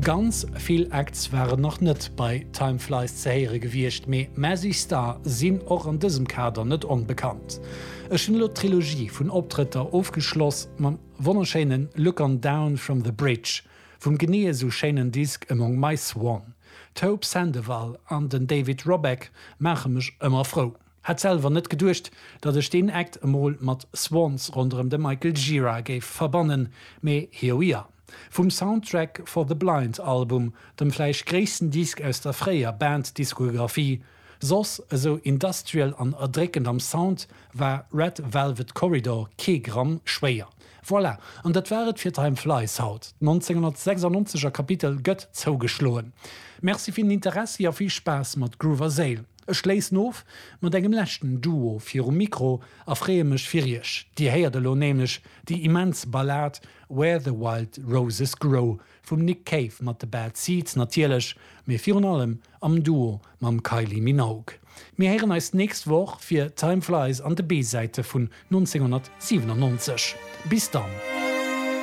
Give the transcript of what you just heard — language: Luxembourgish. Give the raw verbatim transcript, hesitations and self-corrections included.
Ganz vill Acts waren nach net bei Time Flies ze héiere gewiescht, mee Mazzy Star sinn och an dësem Kader net onbekannt. Ech hunn elo d'Trilogie vun Optrëtter ofgeschloss mam wonnerschéinen Look On Down From The Bridge vum genee esou schéinen Disk Among My Swan. D'Hope Sandoval an den David Roback maache mech ëmmer frou. Hätt selwer net geduecht, datt ech deen Act emol mat Swans ronderëm de Michael Gira géif verbannen, mee here we are. Vum Soundtrack for the Blind Album, dem vläicht gréissten Disk aus der fréier Band-Diskografie, soss esou industrial an erdréckend am Sound, war Red Velvet Corridor kee Gramm schwéier. Voilà, an dat war et fir Time Flies haut. D'nonzénghonnertsechsannonzeger Kapitel gëtt zougeschloen. Merci fir den Interessi a vill Spaass mat Groove a Séil. Ech schléissen of mat engem leschten Duo virum Mikro a freeë mech fir iech. Dir héiert elo nämlech déi immens Ballad Where the Wild Roses Grow vum Nick Cave mat de Bad Seeds natierlech, mee virun allem am Duo mam Kylie Minogue. Mir héieren eis d'nächst Woch fir Time Flies an de B-Säite vun nonzénghonnertsiwenannonzeg. Bis dann!